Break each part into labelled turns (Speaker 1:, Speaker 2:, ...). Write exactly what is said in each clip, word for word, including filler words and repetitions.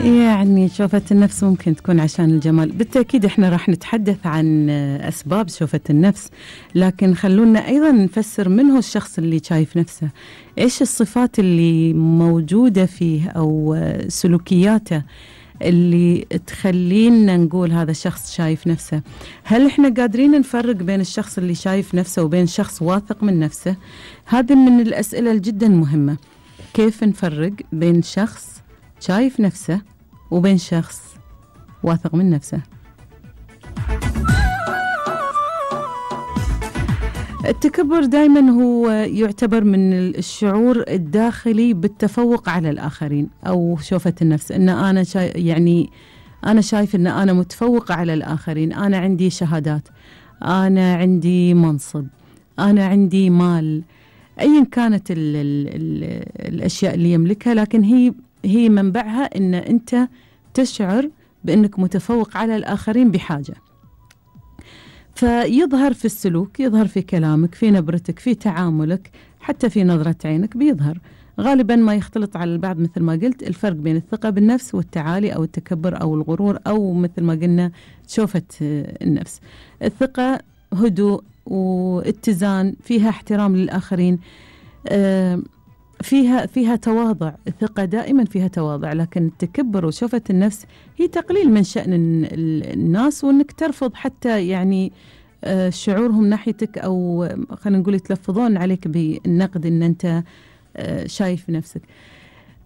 Speaker 1: يعني شوفة النفس ممكن تكون عشان الجمال. بالتأكيد احنا راح نتحدث عن أسباب شوفة النفس، لكن خلونا أيضا نفسر من هو الشخص اللي شايف نفسه، إيش الصفات اللي موجودة فيه أو سلوكياته اللي تخلينا نقول هذا الشخص شايف نفسه. هل احنا قادرين نفرق بين الشخص اللي شايف نفسه وبين شخص واثق من نفسه؟ هذه من الأسئلة الجدا مهمة. كيف نفرق بين شخص شايف نفسه وبين شخص واثق من نفسه؟ التكبر دائما هو يعتبر من الشعور الداخلي بالتفوق على الآخرين، أو شوفة النفس إن أنا شاي يعني أنا شايف إن أنا متفوق على الآخرين، أنا عندي شهادات، أنا عندي منصب، أنا عندي مال، أيا كانت ال ال ال الأشياء اللي يملكها، لكن هي هي منبعها إن أنت تشعر بأنك متفوق على الآخرين بحاجة. فيظهر في السلوك، يظهر في كلامك، في نبرتك، في تعاملك، حتى في نظرة عينك بيظهر. غالبا ما يختلط على البعض مثل ما قلت الفرق بين الثقة بالنفس والتعالي أو التكبر أو الغرور، أو مثل ما قلنا شوفة النفس. الثقة هدوء واتزان، فيها احترام للآخرين، آه فيها فيها تواضع. الثقة دائما فيها تواضع، لكن التكبر وشوفة النفس هي تقليل من شأن الناس، وانك ترفض حتى يعني شعورهم ناحيتك، او خلينا نقول يتلفظون عليك بالنقد ان انت شايف نفسك.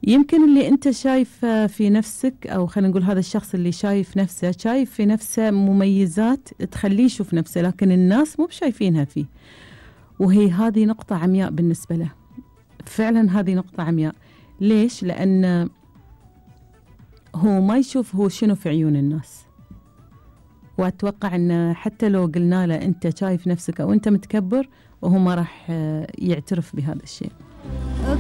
Speaker 1: يمكن اللي انت شايف في نفسك، او خلينا نقول هذا الشخص اللي شايف نفسه شايف في نفسه مميزات تخليه يشوف نفسه، لكن الناس مو بشايفينها فيه، وهي هذه نقطة عمياء بالنسبة له. فعلا هذه نقطة عمياء. ليش؟ لأن هو ما يشوف هو شنو في عيون الناس، وأتوقع أن حتى لو قلنا له أنت شايف نفسك أو أنت متكبر، وهو ما راح يعترف بهذا الشيء.